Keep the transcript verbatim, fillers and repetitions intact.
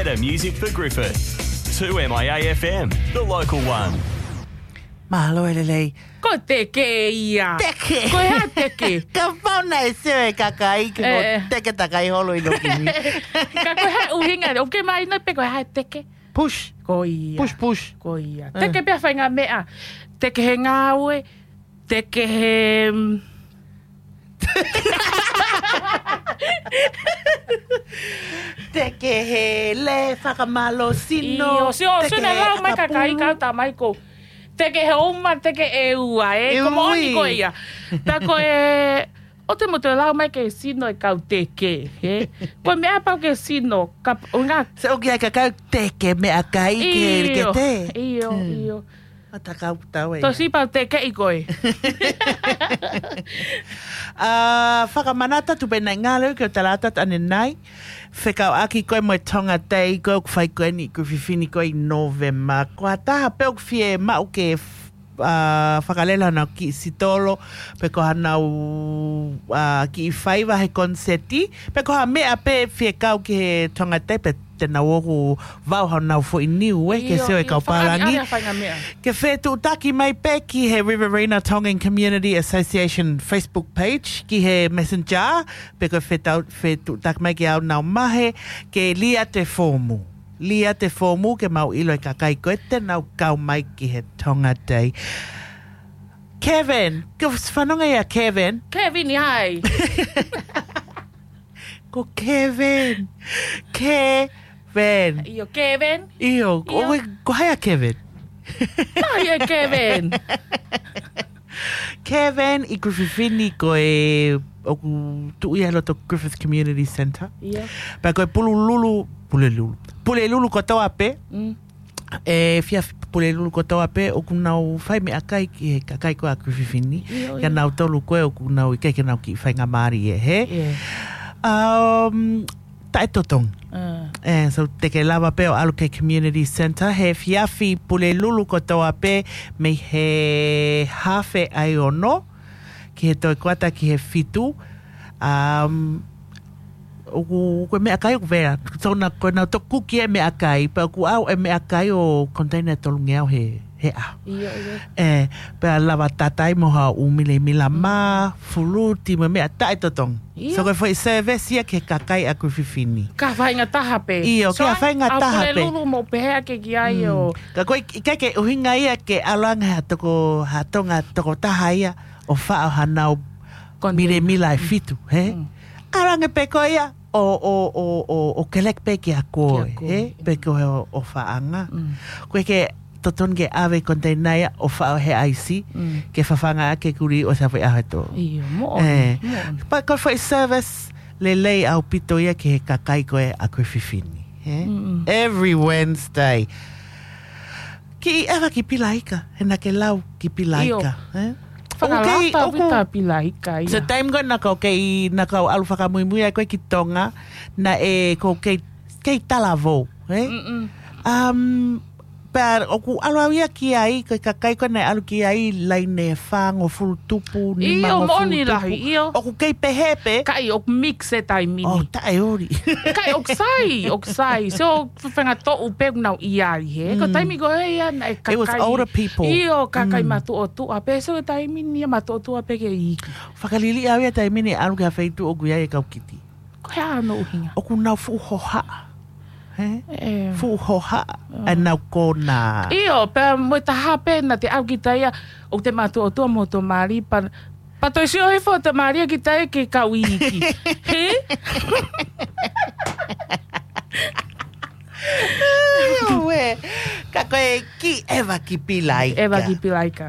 The music for Griffith. Two M I A F M, the local one. Mālō e lelei. Ko e teke ia. Teke. Ko e hā e teke? Kapau naʻe sio e kakai ki he Eh, eh. teke takai holo ʻi loki ni. Ka ko e hā e ʻuhinga, ʻoku ke mahino pē ko e hā e teke? Push. Ko ia. Push, push. Ko ia. Eh. Teke pē ha faʻahinga meʻa. Teke he ngāue. Teke he, mm, Teke he lē fakamālō sino. ʻIo, sio, sio Teke naʻe lau mai e kakai kapulu. Kau tā mai ko. Teke he uma, teke e ua, e. Ko moʻoni Ui. ko ia. Tā ko e, ʻoua te mou toe lau mai ke sino e kau teke, he? Ko e meʻa pau ke sino, ka, ʻuhinga. Se ʻoku ʻi ai e kakai teke meʻakai ke, ke ʻIo, tē. ʻio, Hmm. ʻio. Matakau tau e. Tosi pau teke ʻi koe. ʻA, fakamanatu atu pē naʻe ngalo ke o talata ane nai. Fekauʻaki koe mo e Tonga Day ko ē ʻoku fai ko eni ʻi Griffith ni ko ē ʻi Novema. Ko ha taha pē ʻoku fie maʻu ke f-, ʻa, fakalele hanau kiʻi sitolo, pe ko hanau, ʻa, kiʻi faiva he koniseti, pe ko ha meʻa pē fie kau ki he Tonga Day, pe te nau ō ʻo vau hanau foʻi niu, ē, ke ʻIo, sio e ʻio, kau pālangi. Fakaʻaliʻali ha faʻahinga meʻa. Ke fetuʻutaki mai pē ki he Riverina Tongan Community Association Facebook page, ki he Messenger, pe ko e fetau-, fetuʻutaki mai ki au nau mahe, ke lia te fōmu. Lia te fōmu ke mau ʻilo e kakai ko ē te nau kau mai ki he Tonga Day. Kevin, ke fanongo ia Kevin. Kevin, hai. Ko Kevin. Kevin. ʻIo, Kevin. ʻIo, ko, ʻIo. ʻoe, ko hai ʻa Kevin? Ko hai ʻa Kevin? Kevin ʻi Griffith ni ko e ʻoku tuʻu ia he loto Griffith Community Centre. ʻIo. Pea ko e Pulelulu, Pulelulu. Pulelulu kotoa pē. Mm. ʻE, efiafi Pulelulu kotoa pē, ʻoku nau fai meʻakai ki he kakai ko ē ʻa Griffith ni. ʻIo, Ka ʻio. nau tolu ko ē, ʻoku nau ʻikai ke nau kiʻi faingamālie, he? ʻIo. Um, taʻetotongi. Ah. ʻE, so te ke lava pē ʻo ʻalu ki he community centre, he efiafi Pulelulu kotoa pē, mei he haafe ʻa e ono, ki he toe kuata ki he fitu. Um, ʻoku, ko e meʻakai ʻoku vela. So na, ko e nau toku ki e meʻakai, pea ʻoku ʻau e meʻakai ʻo konteina ʻe tolungeau he, he ʻaho. ʻIo, ʻio. ʻE, pea lava tatai mo ha ʻū milemila mā, fuluti mo e meʻa taʻetotongi. ʻIo. So ko e foʻi service ia ki he kakai ʻa Griffith ni. Ka faʻahinga taha pē. ʻIo, So, ka faʻahinga ʻa taha pē. Pulelulu mo pehē ake ki ai Mm. ʻo Ka ko e, ʻikai ke ʻuhinga ia ke ʻalu ange ha toko, ha Tonga tokotaha ia ʻo faʻo hanau Konteina. milemila ʻe fitu, he? Mm. ʻAlu ange pē ko ia ʻo, ʻo, ʻo, ʻo, ʻo keleki pē kia koe, Kia koe, he? mm. Pe ko e ʻo, ʻofaʻanga. Mm. Ko e ke totonu ke ʻave konteina ia ʻo faʻo he ʻaisi, Mm. ke fafanga ake kuli ʻo sa fai aheto. ʻIo, moʻoni, ʻE. moʻoni. Pea ko e foʻi service lelei ʻaupito ia ki he kakai ko ē ʻa Griffith ni, he? Mm-mm. Every Wednesday. Kiʻi ʻeva ki Pilaika, he naʻa ke lau ki Pilaika, ʻIo. he? Fakalata ʻOku kei, ʻoku vita Pilaika, ia. So time ko ē naʻa kau kei, naʻa kau ʻalu fakamuimui ai ko ē ki Tonga, naʻe kei, kei talavou, he? Mm-mm. Um, pea ʻoku ʻalu au ia ki ai, ko e kakai ko ē naʻe ʻalu ki ai, laine fāngofulu tupu, ʻIo, nimangofulu moʻoni tupu. lahi, ʻio. ʻOku kei pehē pē. Kae ʻoku mix e taimi ni. ʻO taʻeoli. Kae ʻoku sai, ʻoku sai. So, fenga toʻu pē ʻoku nau ʻi ai, he. Ko Mm. taimi ko ē ia naʻe It was kakai. older people. ʻIo, kakai Mm. matuʻotuʻa pē. So, taimi ni ia matuʻotuʻa pē ke iiki. Fakaliliʻa au ia taimi ni ʻalu ki ha feituʻu ʻoku ʻi ai e kau kiti. Ko e hā hono ʻuhinga? ʻOku nau fuʻu hohaʻa. He? ʻE. Fuʻu hohaʻa. ʻE nau kona. ʻIo, pea mo e taha pē naʻa te ʻalu ki taia, ʻoku te matuʻotuʻa mo hoto mali, pea, pea toe sio hifo hoto mali ki taia ke kau iiki. He? ʻIo, ue. Ka ko e kiʻi ʻeva ki Pilaika. ʻEva ki Pilaika.